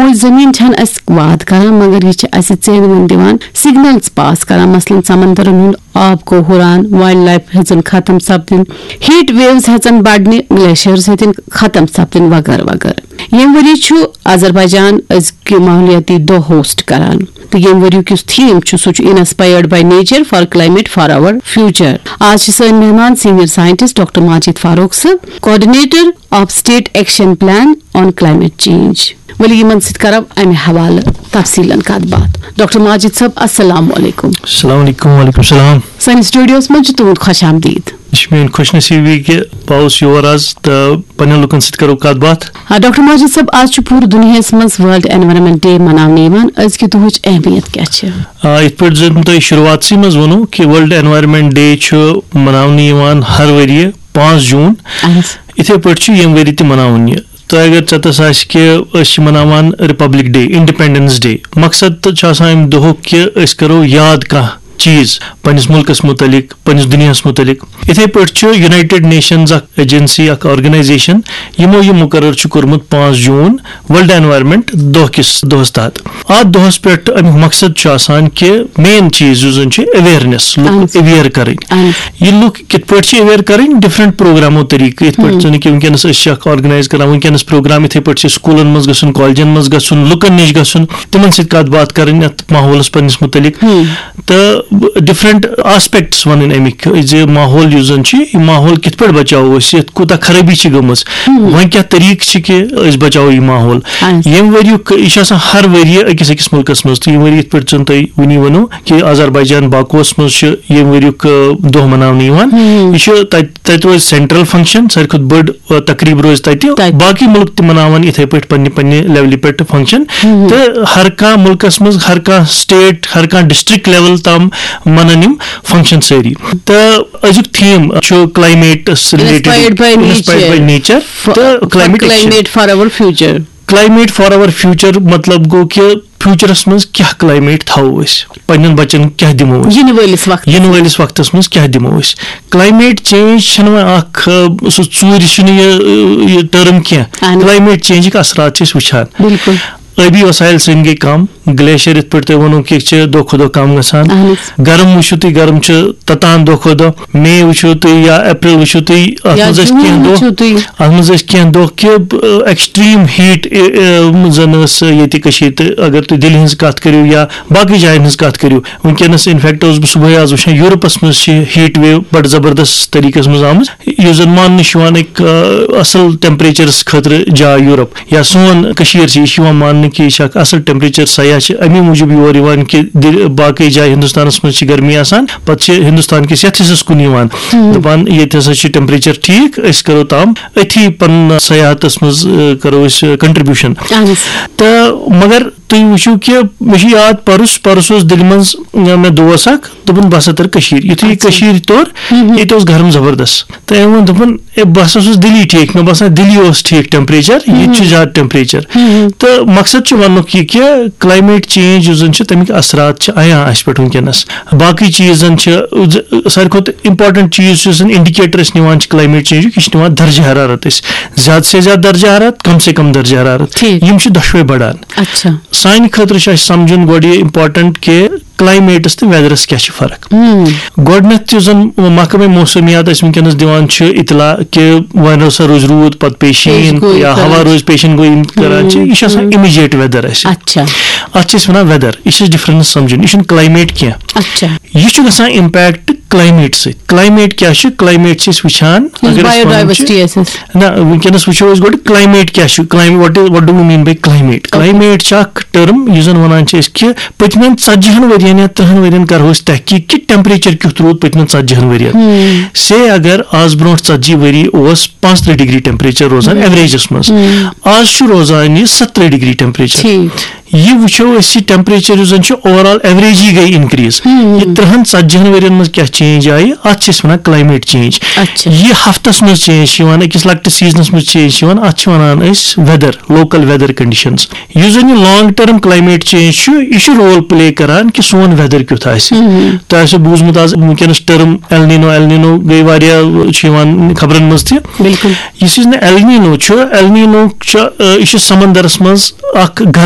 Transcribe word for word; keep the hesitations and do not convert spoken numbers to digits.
موج زمین چھن اسہِ واد کران، مگر یہِ چھِ اسہِ ژینوُن دِوان، سگنلز پاس کران، مثلاً سمندرن ہُنٛد آب گوٚو ہُران، وائلڈ لائف ہیٚژن ختم سپدٕنۍ، ہیٹ ویوز ہیٚژن بڑنہِ، گلیشیئرز ہیٚتن ختم سپدٕنۍ وغٲرٕ وغٲرٕ۔ ییٚمہِ ؤری چھُ آذربائیجان أزکہِ ماحولیاتی دۄہ ہوسٹ کران، تہٕ ییٚمہِ ؤریُک یُس تھیم چھُ، سُہ چھُ Inspired by Nature for Climate for Our Future۔ آز چھِ سٲنۍ مہمان senior scientist doctor Majid Farooq صٲب، Coordinator of State Action Plan on Climate Change۔ ؤلِو یِمن سۭتۍ کرو امہِ حوالہٕ تفصیلن کتھ باتھ۔ ڈاکٹر ماجد صٲب، السلام علیکم۔ السلام علیکم، وعلیکم السلام۔ سٲنِس سٹوڈیوس منٛز چھِ تُہُنٛد خۄش آمدید۔ یہِ چھِ میٲنۍ خۄش نصیٖبی کہِ بہٕ آوُس یور آز تہٕ پننٮ۪ن لُکن سۭتۍ کرو کتھ باتھ۔ آ، ڈاکٹر ماجد صٲب، آز چھُ پوٗرٕ دُنیاہس منٛز ورلڈ انوائرمنٹ ڈے مناونہٕ یِوان۔ أزکہِ دۄہٕچ اہمیت کیٛاہ چھِ؟ آ، یِتھ پٲٹھۍ زن تۄہہِ شروٗعاتسٕے منٛز ووٚنوٕ کہِ ورلڈ انوائرمنٹ ڈے چھُ مناونہٕ یِوان ہر ؤریہِ پانٛژھ جوٗن۔ اہن حظ۔ یِتھے پٲٹھۍ چھُ ییٚمہِ ؤریہِ تہِ مناوُن یہِ۔ تۄہہِ اگر ژٮ۪تس آسہِ کہِ أسۍ چھِ مناوان ریپبلک ڈے، انڈیپینڈنس ڈے۔ مقصد تہٕ چھُ آسان امہِ دۄہُک کہِ أسۍ کرو یاد کانٛہہ چیٖز پننِس مُلکس مُتعلق، پننِس دُنیاہس مُتعلق۔ یِتھے پٲٹھۍ چھُ یونائٹڈ نیشنز اکھ ایجنسی، اکھ آرگنائزیشن، یِمو یہِ مُقرر چھُ کوٚرمُت پانٛژھ جوٗن ورلڈ انوائرمنٹ دۄہ کِس دۄہس تحت۔ اتھ دۄہس پٮ۪ٹھ امیُک مقصد چھُ آسان کہِ مین چیٖز یُس زن چھُ اویئرنیس، لُکھ اہن حظ۔ اویئر کرٕنۍ۔ اہن حظ۔ یہِ لُکھ کِتھ پٲٹھۍ چھِ اویئر کرٕنۍ؟ ڈفرنٹ پروگرامو طریقہٕ، یِتھ پٲٹھۍ ہم۔ زن کہِ وٕنکیٚنس أسۍ چھِ اکھ آرگنائز کران، وٕنکیٚنس پروگرام یِتھے پٲٹھۍ چھِ سکوٗلن منٛز گژھُن، کالجن منٛز گژھُن، لُکن نِش گژھُن، تِمن سۭتۍ کتھ باتھ کرٕنۍ اتھ ماحولس پننِس مُتعلق۔ ہم۔ تہٕ ڈفرنٹ آسپیکٹس ونٕنۍ امِکۍ زِ ماحول یُس زن چھُ، یہِ ماحول کِتھ پٲٹھۍ بچاوو أسۍ، یتھ کوٗتاہ خرٲبی چھِ گٔمٕژ، ہم۔ وۄنۍ کیٛاہ طریقہٕ چھِ کہِ أسۍ بچاوو یہِ ماحول۔ اہن۔ ییٚمہِ ؤریُک یہِ چھُ آسان ہر ؤریہِ أکِس أکِس مُلکس منٛز، تہٕ ییٚمہِ ؤریہِ یِتھ پٲٹھۍ زن تۄہہِ وُنی ؤنو کہِ آذربائیجان باکوس منٛز چھُ ییٚمہِ ؤریُک، آ، دۄہ مناونہٕ یِوان۔ ہم۔ یہِ چھُ تتہِ، تتہِ روزِ سینٹرل فنکشن، ساروی کھۄتہٕ بٔڑ، آ، تقریٖب روزِ تتہِ۔ تتہِ۔ باقٕے مُلک تہِ مناون یِتھے پٲٹھۍ پننہِ پننہِ لیولہِ پٮ۪ٹھ فنکشن۔ ہم۔ تہٕ ہر کانٛہہ مُلکس منٛز، ہر کانٛہہ سٹیٹ، ہر کانٛہہ ڈسٹرکٹ لیول تام منن یِم فنکشن سٲری۔ تہٕ أزیُک تھیم چھُ climates related, Inspired by Inspired by Nature۔ Nature تہٕ Climate Action۔ Climate for our future۔ Climate for our future مطلب گوٚو کہِ فیوچرس منٛز کیٛاہ کلائمیٹ تھاوو أسۍ، پننٮ۪ن بچن کیٛاہ دِمو أسۍ؟ یِنہٕ وٲلِس وقتس۔ یِنہٕ وٲلِس وقتس منٛز کیٛاہ دِمو أسۍ؟ کلائمیٹ چینج چھنہٕ وۄنۍ اکھ، آ، سُہ ژوٗرِ چھُنہٕ یہِ، آ، یہِ ٹرم کینٛہہ۔ اہن۔ کلائمیٹ چینجٕکۍ اثرات چھِ أسۍ وٕچھان۔ بِلکُل۔ آبی وسائل سٲنۍ گٔے کم، گلیشیئر یِتھ پٲٹھۍ تۄہہِ ووٚنوٕ کہِ چھِ دۄہ کھۄتہٕ دۄہ کم گژھان۔ اہن حظ۔ گرم وٕچھِو تُہۍ، گرم چھُ تتان دۄہ کھۄتہٕ دۄہ۔ مے وٕچھِو تُہۍ یا اپریل وٕچھِو تُہۍ، اتھ یا منٛز ٲسۍ جوٗن کینٛہہ دۄہ، وٕچھِو تُہۍ۔ اتھ منٛز ٲسۍ کینٛہہ دۄہ کہِ، آ، ایکسٹریم ہیٹ، آ، آ، زن ٲس ییٚتہِ کٔشیٖرِ تہٕ۔ اگر تُہۍ دِلہِ ہٕنٛز کتھ کٔرِو یا باقٕے جاین ہٕنٛز کتھ کٔرِو، وٕنکیٚنس انفیکٹ اوسُس بہٕ صبحٲے آز وٕچھان، یورپس منٛز چھِ ہیٹ ویو بڑٕ زبردست طریقس منٛز آمٕژ، یُس زن ماننہٕ چھُ یِوان أکۍ، آ، اصل ٹیمپریچرس خٲطرٕ جاے یورپ۔ یا سون کٔشیٖر چھِ، یہِ چھِ یِوان ماننہٕ کہِ یہِ چھِ اکھ اصل ٹیمپریچر، سیاح چھِ امی موٗجوٗب یور یِوان کہِ دِ-، باقٕے جایہِ ہندوستانس منٛز چھِ گرمی آسان، پتہٕ چھِ ہندوستان کِس یتھ حصس کُن یِوان، ہم۔ دپان ییٚتہِ ہسا چھُ ٹیمپریچر ٹھیٖک، أسۍ کرو تام أتھی پنُن سیاحتس منٛز، آ، کرو أسۍ، آ، کنٹریبیوشن۔ اہن حظ۔ تہٕ مگر تُہۍ وٕچھِو کہِ مےٚ چھُ یاد، پرُس، پرُس اوس دِلہِ منٛز، آ، مےٚ دوس اکھ، دوٚپُن، "بہٕ ہسا تَرٕ کٔشیٖرِ۔" یُتھُے یہِ اچھا۔ کٔشیٖرِ توٚر، ہم۔ ییٚتہِ اوس گرم زبردست۔ تہٕ أمۍ ووٚن، دوٚپُن، "اے، بہٕ ہسا اوسُس دِلی ٹھیٖک، مےٚ باسان دِلی اوس ٹھیٖک ٹیمپریچر، ییٚتہِ چھُ ہم۔ زیادٕ ٹیمپریچر۔" ہم۔ تہٕ مقصد چھُ وننُک یہِ کہِ کلائمیٹ چینج یُس زن چھُ، تَمِکۍ اثرات چھِ عیاں اَسہِ پٮ۪ٹھ وٕنکیٚنس۔ باقٕے چیٖز زن چھِ، ز-، ساروی کھۄتہٕ امپورٹنٹ چیٖز یُس زن انڈیکیٹر أسۍ نِوان چھِ کلائمیٹ چینجُک، یہِ چھِ نِوان درجہ حرارت أسۍ۔ زیادٕ سے زیادٕ درجہ حرارت، کم سے کم درجہ حرارت۔ ٹھیٖک۔ یِم چھِ دۄشوے بڑان۔ اچھا۔ سانہِ خٲطرٕ چھُ اَسہِ سمجھُن گۄڈٕ یہِ امپورٹنٹ کہِ کلائمیٹس تہٕ ویدرس کیٛاہ چھِ فرق۔ ہم۔ گۄڈٕنیتھ یُس زن محکمہ موسمیات اَسہِ وٕنکیٚنس دِوان چھُ اطلاع کہِ وۄنۍ ہسا روزِ روٗد، پتہٕ پیٚیہِ شیٖن پیش گویی یا کران ہوا چھِ۔ روزِ پیشن گویی کران چھِ، ہم، یہِ چھُ آسان ہم۔ امیجیٹ ویدر اَسہِ۔ اچھا۔ اتھ چھِ أسۍ ونان ویدر، یہِ چھِ ڈفرنس سمجھُن، یہِ چھُنہٕ کلائمیٹ کینٛہہ۔ اچھا۔ یہِ چھُ گژھان امپیکٹ کلائمیٹ سۭتۍ۔ کلائمیٹ کیٛاہ چھُ؟ کلائمیٹ چھِ أسۍ وٕچھان، یُس اگر أسۍ وَنان چھِ، بایوڈائیورسٹی آسہِ اَسہِ۔ نہ، وٕنکیٚنس وٕچھو أسۍ گۄڈٕ کلائمیٹ کیٛاہ چھُ، climate, what is, what do we mean by climate؟ Okay. Climate چھِ اکھ ٹرم یُس زن ونان چھِ أسۍ کہِ پٔتمٮ۪ن ژتجی ہن ؤرین یا ترٕہن ؤرین کرو أسۍ تحقیق کہِ ٹیمپریچر کیُتھ روٗد پٔتمٮ۪ن ژتجی ہن ؤرین۔ ہم۔ سے اگر آز برونٛٹھ ژتجی ؤری اوس پانٛژترٕہ ڈگری ٹیمپریچر روزان ہم۔ ایوریجس منٛز، ہم۔ آز چھُ روزان یہِ ستترٕہ ڈگری ٹیمپریچر۔ ٹھیٖک۔ یہِ وٕچھو أسۍ، یہِ ٹیمپریچر یُس زن چھُ، اوور آل ایوریجی گٔے انکریز۔ یہِ ترٕہن ژتجی ہن ؤرین منٛز کیٛاہ چینج آیہِ، اتھ چھِ أسۍ ونان کلایمیٹ چینج۔ اچھا۔ یہِ ہفتس منٛز چینج چھِ یِوان، أکِس لۄکٹِس سیزنس منٛز چینج چھِ یِوان، اتھ چھِ ونان أسۍ ویدر، لوکل ویدر کنڈیشنز۔ یُس زن یہِ لانگ ٹرم کلایمیٹ چینج چھُ، یہِ چھُ رول پلے کران کہِ سون ویدر کیُتھ آسہِ۔ تۄہہِ آسیو بوٗزمُت آز وٕنکیٚنس ٹرم ایلنینو، ایلنینو گٔے واریاہ، چھِ یِوان خبرن منٛز تہِ۔ بالکل۔ یُس یُس نہٕ ایلنینو چھُ، ایلنینو چھُ، آ، یہِ چھُ سمندرس منٛز اکھ گرم